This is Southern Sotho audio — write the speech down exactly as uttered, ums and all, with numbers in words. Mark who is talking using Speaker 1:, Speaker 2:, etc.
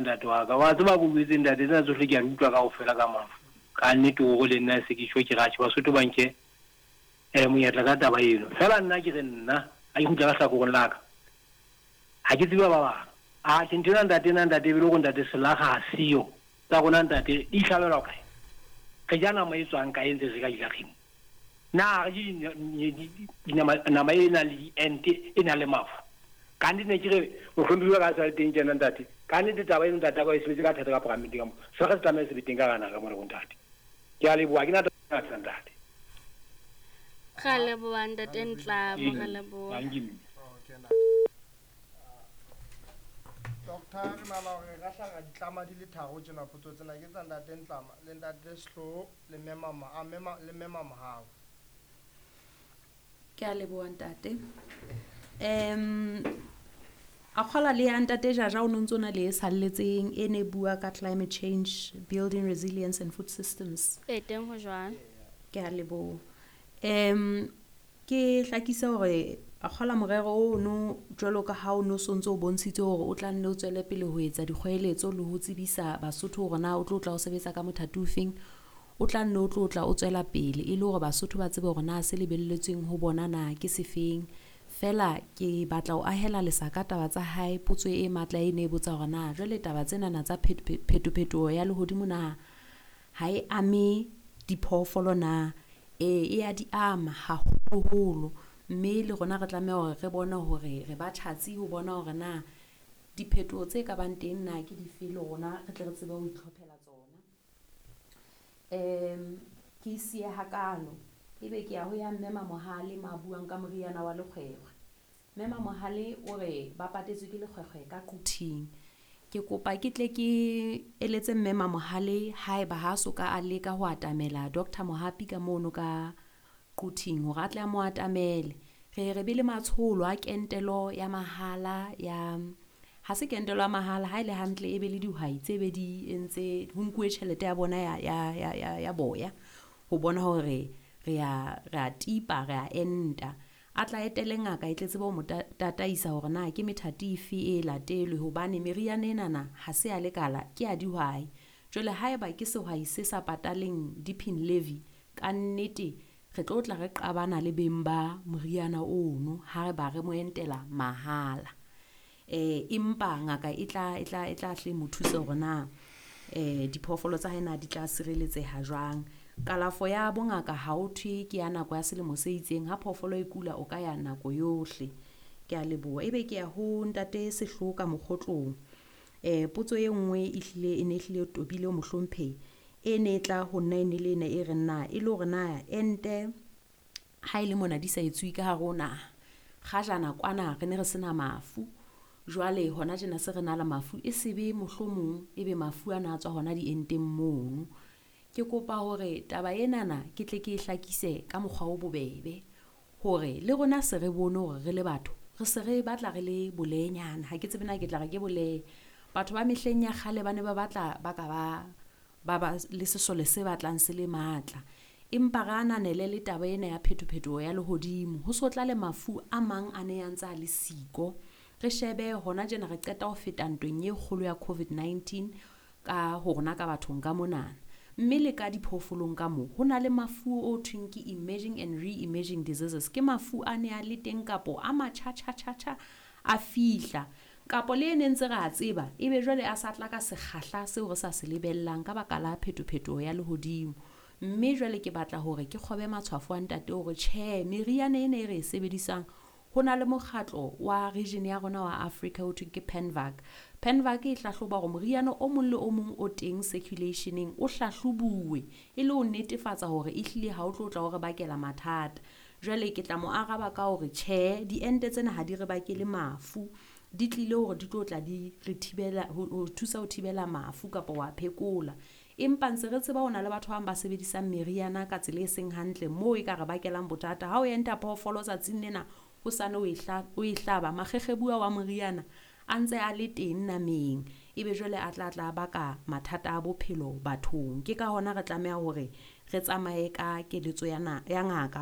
Speaker 1: Ntate wa ka. Wa tseba ko buetse ntate tsena tsohle ke a di utlwa kaofela ka mafu. Ka nnete hore le nna se ke tjho ke ratjhe Basotho ba nke eh monyetla ka taba eno. Feela nna ke re nna ha ke kgutla ka hlakoreng la ka. Ha ke tsebe ba bang. Atjhe nthwena ntate ena ntate e be le hore ntate selakga ha siyo. Tsa rona ntate di hlabelwa kae? Re ja nama e tswang kae ntse re ka dilakgeng? Na re je dinama nama e nang le diente e nang le mafu? Ka nnete ne ke re mohlomphehi wa ka a sa le teng tjena ntate. Ka nnete taba eno ntate a ka e sebetse ka thata ka paramenteng ka mo. Selakga se tlameha se be teng ka hara naha ka mona bo ntate. Ke a leboha, ha ke na taba ntate.
Speaker 2: Ra leboha ntate Ntlamo, ra leboha.
Speaker 1: Dankie mme.
Speaker 3: Okay, ntate. Doctor, re nahana hore re ka hla ra di tlama di le tharo tjena potso tsena ke tsa ntate Ntlama le ntate Sehloho le mme Mama a mme le mme Mamohau.
Speaker 4: Ke a leboha ntate. Um a kgola le ya ntate Jaja o no ntso na le e salletseng e ne bua ka climate change, building resilience and food systems.
Speaker 2: E teng ho jwang?
Speaker 4: Ke a leboha. Um ke hlakise hore a kgola morero ono jwalo ka ha o no sontso o bontshitse hore o tla nne o tswele pele ho etsa dikgoeletso le ho tsebisa Basotho hore na o tlo tla o sebetsa ka mothati o feng. O tla nne o tlo tla o tswela pele e le hore Basotho ba tsebe hore na se lebelletsweng ho bona na ke sefeng. Feela ke batla ho ahela lesaka taba tsa hae potso e matla e ne e botsa hore na jwale taba tsenana tsa phetophetoho ya lehodimo na ha e ame diphoofolo na? E, e a di ama haholoholo mme le rona re tlameha hore re bone hore re ba tjhatsi ho bona hore na diphetoho tse ka bang teng na ke dife le rona re tle re tsebe ho itlhophela tsona. Um ke siye hakalo ebe ke ya ho ya mme Mamohale ma buang ka moriana wa lekgwekgwe. Mme Mamohale o re ba patetswe ke lekgwekgwe ka Quthing. Ke kopa ke tle ke eletse mme Mamohale haeba ha so ka a leka ho atamela Doctor Mohapi ka mono ka Quthing hore a tle a mo atamele. Re re be le matsholo a kentelo ya mahala ya ha se kentelo ya mahala ha ile hantle e be le dihwai tse be di entse ho nkuwe tjhelete ya bona ya ya ya ya, ya boya ho bona hore re a re a tipa re a enta. A tla etele ngaka e tle tsebe ho mo tataisa hore na ke methati efe e latelwe hobane meriana enana ha se ya lekala ke ya dihwai. Jwale haeba ke sehwai se sa pataleng dipping levy ka nnete re tlo tla re qabana le beng ba moriana ono ha re ba re mo entela mahala. Eh empa ngaka e tla e tla e tla hle mo thuse hore na eh diphoofolo tsa hae na di tla sireletseha jwang. Kalafo ya bongaka ha o thwe ke ya nako ya selemo se itseng ha phoofolo e kula o ka ya nako yohle. Ke a leboha. Ebe ke ya ho ntate Sehloho ka mokgotlong. Eh potso e nngwe e hlile e ne hlile tobile o mohlomphehi e ne e tla ho nna e ne le ena e reng na e le hore na ente ha e le mona di sa etsuwe ka hare ho naha. Kgajana kwana re ne re sena mafu. Jwale hona tjena se re na le mafu e sebe mohlomong ebe mafu ana a tswa hona dienteng mono. Ke kopa hore taba enana ke tle ke e hlakise ka mokgwa o bobebe hore le rona se re bone hore re le batho re se re batla re le bolenyana. Ha ke tsebe na ke tla re ke bolee. Batho ba mehleng ya kgale ba ne ba batla ba ka ba ba ba le sesole se batlang se le matla. Empa re ananele le taba ena ya phetophetoho ya lehodimo. Ho so tla le mafu a mang a ne a ntse a le siko. Re shebe hona tjena re qeta ho feta ntweng e kgolo ya COVID nineteen ka ho rona ka bathong ka monana. Mme le ka diphoofolong ka moo ho na le mafu o thweng ke emerging and re-emerging diseases. Ke mafu a ne a le teng kapo a matjha-tjha-tjha-tjha a fihla. Kapo le ne ntse re a tseba ebe jwale a sa tla ka sekgahla seo re sa se lebellang ka baka la phetophetoho ya lehodimo. Mme jwale ke batla hore ke kgobe matshwafo a ntate hore tjhe meriana ena e re e sebedisang ho na le mokgatlo wa region ya rona wa Africa ho thweng ke PANVAC. PANVAC e hlahloba hore moriana o mong le o mong o teng circulationeng o hlahlobuwe e le ho netefatsa hore ehlile ha o tlo tla o re bakela mathata. Jwale ke tla mo araba ka hore tjhe diente tsena ha di re bakele mafu, di tlile hore di tlo tla di re thibela ho ho thusa ho thibela mafu kapa wa phekola. Empa ntse re tseba ho na le batho ba bang ba sebedisang meriana ka tsela e seng hantle moo e ka re bakelang bothata. Ha o enta phoofolo tsatsing lena o sane o e hla, o e hlaba makgekgebuwa wa moriana a ntse a le teng nameng ebe jwale a tla tla baka mathata a bophelo bathong. Ke ka hona re tlameha hore re tsamaye ka keletso ya na, ya ngaka.